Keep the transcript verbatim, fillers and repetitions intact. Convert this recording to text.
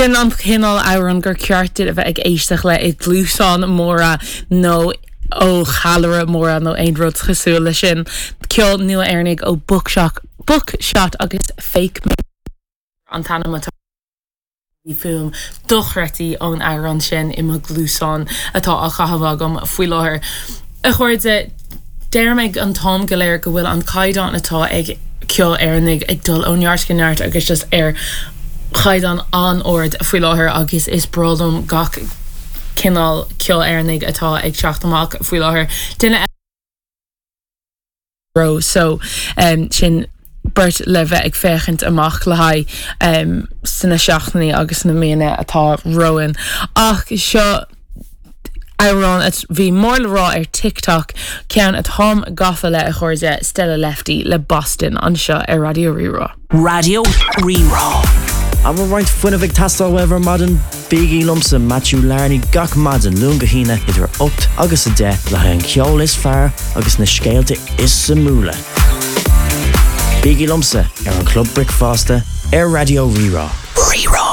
Sin an cineál amhrán gur ceart a bheith ag éisteacht le i gcluasáin móra nó ó challaire móra nó aon rud cosúil le sin ceol nua Éireannach ó Bookshot Bookshot agus Fake Me an t-ainm atá Bhí fuaim dochreidte ón amhrán sin i mo ghluaisteán atá á chaitheamh agam faoi láthair. A chairde deirim an t-am go léir go bhfuil an caighdeán atá ag ceol Éireannach ag dul ó neart go neart agus just ar chaighdeán an-ard faoi láthair agus is breá liom gach cineál ceol Éireannach atá ag teacht amach faoi láthair. Duine ro so um, sin beirt le bheith ag féachaint amach le haghaidh um, sna seachtainí agus na míonna atá romhainn. Ach seo amhrán a bhí mór le rá ar TikTok ceann atáim gafa le a chairde Stella Lefty le Boston anseo ar Raidió Rí-Rá. Raidió Rí-Rá. An bhfuil roinnt fuinnimh ag teastáil uaibh ar maidin bígí liomsa Matthew Larney gach maidin Luan go hAoine idir ocht agus a deich le haghaidh an ceol is fearr agus na scéalta is suimiúla. Bígí liomsa ar an Club Bricfeasta ar Raidió Rí-Rá. Rí-Rá.